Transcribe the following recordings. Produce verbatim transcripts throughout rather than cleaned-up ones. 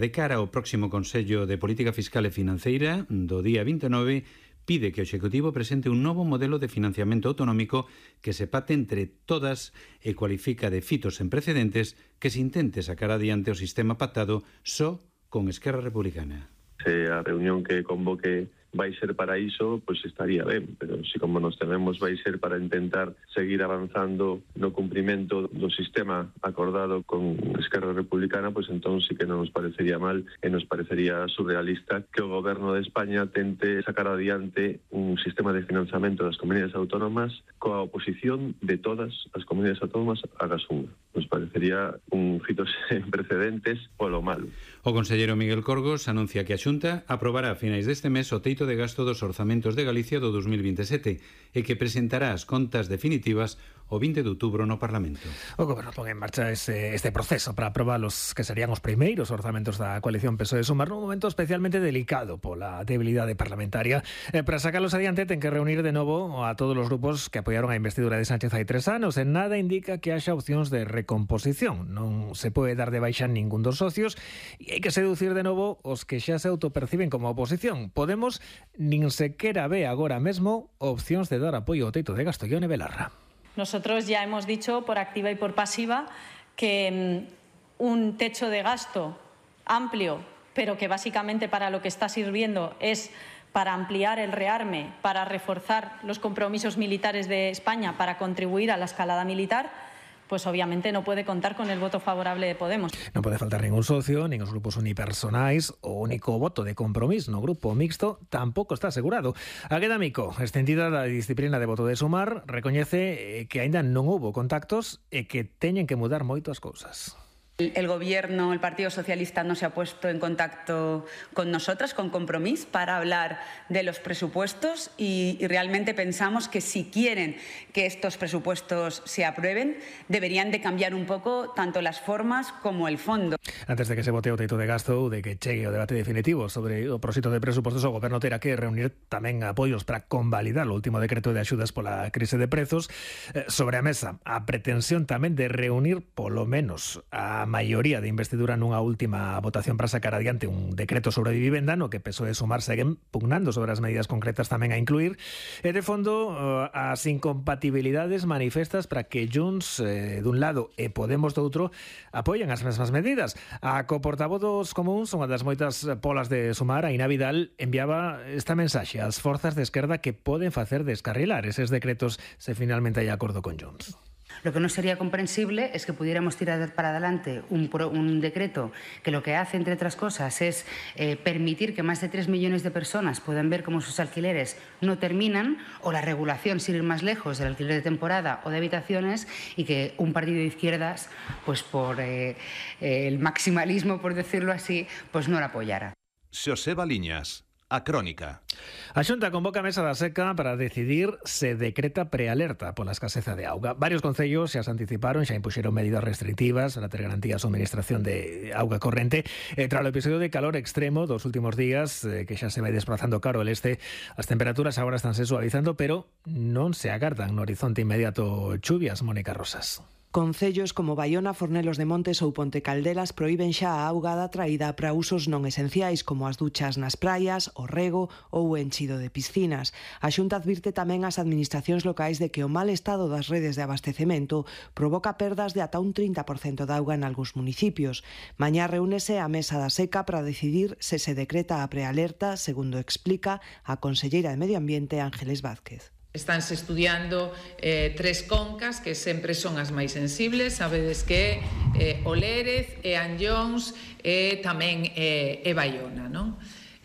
De cara ao próximo Consello de Política Fiscal e Financeira do día vinte e nove, pide que o Executivo presente un novo modelo de financiamento autonómico que se pacte entre todas e cualifica de fitos sen precedentes que se intente sacar adiante o sistema pactado só con Esquerra Republicana. Se a reunión que convoque vai ser para iso, pois estaría ben, pero se como nos tememos vai ser para intentar seguir avanzando no cumprimento do sistema acordado con Esquerra Republicana, pois entón sí que non nos parecería mal e nos parecería surrealista que o Goberno de España tente sacar adiante un sistema de financiamento das comunidades autónomas coa oposición de todas as comunidades autónomas agás unha. Nos parecería un fito sen precedentes polo malo. O conselleiro Miguel Corgos anuncia que a Xunta aprobará a finais deste mes o teito de gasto dos orzamentos de Galicia do dos mil vinte e sete e que presentará as contas definitivas o vinte de outubro no Parlamento. O Goberno pon en marcha ese, este proceso para aprobar los que serían os primeiros orzamentos da coalición P S O E Sumar nun momento especialmente delicado pola debilidade parlamentaria. Eh, para sacarlos adiante ten que reunir de novo a todos os grupos que apoiaron a investidura de Sánchez hai tres anos e nada indica que haxa opcións de recomposición. Non se pode dar de baixa ningún dos socios e hai que seducir de novo os que xa se autoperciben como oposición. Podemos nin sequera ve agora mesmo opcións de dar apoio ao teito de gasto. Ione Belarra. Nosotros ya hemos dicho por activa y por pasiva que um, un techo de gasto amplio, pero que básicamente para lo que está sirviendo es para ampliar el rearme, para reforzar los compromisos militares de España, para contribuir a la escalada militar, pues obviamente no puede contar con el voto favorable de Podemos. Non pode faltar ningún socio, nin os grupos unipersonais. O único voto de compromiso no grupo mixto tampouco está asegurado. A Queda Mico, extendida da disciplina de voto de Sumar, recoñece que aínda non houbo contactos e que teñen que mudar moito as cousas. El Gobierno, el Partido Socialista no se ha puesto en contacto con nosotras, con Compromís, para hablar de los presupuestos y, y realmente pensamos que si quieren que estos presupuestos se aprueben, deberían de cambiar un poco tanto las formas como el fondo. Antes de que se vote o teito de gasto ou de que chegue o debate definitivo sobre o proxecto de presupostos, o Goberno terá que reunir tamén apoios para convalidar o último decreto de axudas pola crise de prezos. Eh, sobre a mesa, a pretensión tamén de reunir polo menos a maioría de investidura nunha última votación para sacar adiante un decreto sobre vivenda no que P S O E e Sumar seguen pugnando sobre as medidas concretas tamén a incluir. E de fondo, as incompatibilidades manifestas para que Junts eh, dun lado e Podemos do outro apoien as mesmas medidas. A coportavoz dos comuns, unha das moitas polas de Sumar, Aina Vidal, enviaba esta mensaxe ás forzas de esquerda que poden facer descarrilar eses decretos se finalmente hai acordo con Junts. Lo que no sería comprensible es que pudiéramos tirar para adelante un, pro, un decreto que lo que hace, entre otras cosas, es eh, permitir que más de tres millones de personas puedan ver cómo sus alquileres no terminan, o la regulación, sin ir más lejos, del alquiler de temporada o de habitaciones, y que un partido de izquierdas, pues por eh, eh, el maximalismo, por decirlo así, pues no la apoyara. Xoseba Liñas. A Crónica. A Xunta convoca a mesa da seca para decidir se decreta prealerta pola escaseza de auga. Varios concellos xa se anticiparon, xa impuxeron medidas restrictivas para ter garantía a suministración de auga corrente. E tras o episodio de calor extremo dos últimos días, eh, que xa se vai desplazando cara ao este, as temperaturas agora están se suavizando, pero non se agardan no horizonte inmediato chuvias. Mónica Rosas. Concellos como Baiona, Fornelos de Montes ou Ponte Caldelas proíben xa a augada traída para usos non esenciais como as duchas nas praias, o rego ou o enchido de piscinas. A Xunta advirte tamén ás administracións locais de que o mal estado das redes de abastecemento provoca perdas de ata un trinta por cento de auga en algúns municipios. Mañá reúnese a mesa da seca para decidir se se decreta a prealerta, segundo explica a conselleira de Medio Ambiente Ángeles Vázquez. Estánse estudiando eh, tres concas que sempre son as máis sensibles. Sabedes que eh, o Lérez e Anllóns e tamén eh, e Baiona, non?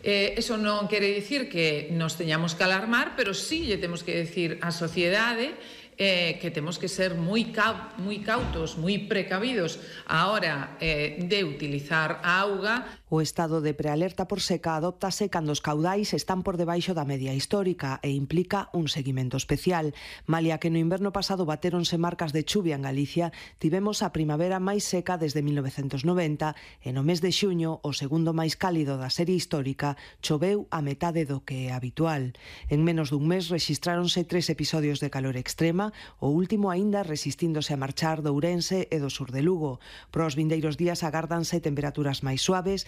Eh, eso non quere dicir que nos teñamos que alarmar, pero sí lle temos que decir á sociedade eh, que temos que ser moi, cau moi cautos, moi precavidos a hora eh, de utilizar a auga. O estado de prealerta por seca adóptase cando os caudais están por debaixo da media histórica e implica un seguimento especial. Malia que no inverno pasado batéronse marcas de chuvia en Galicia, tivemos a primavera máis seca desde mil novecentos noventa e no mes de xuño, o segundo máis cálido da serie histórica, choveu a metade do que é habitual. En menos dun mes rexistráronse tres episodios de calor extrema, o último aínda resistíndose a marchar do Ourense e do sur de Lugo. Para os vindeiros días agárdanse temperaturas máis suaves,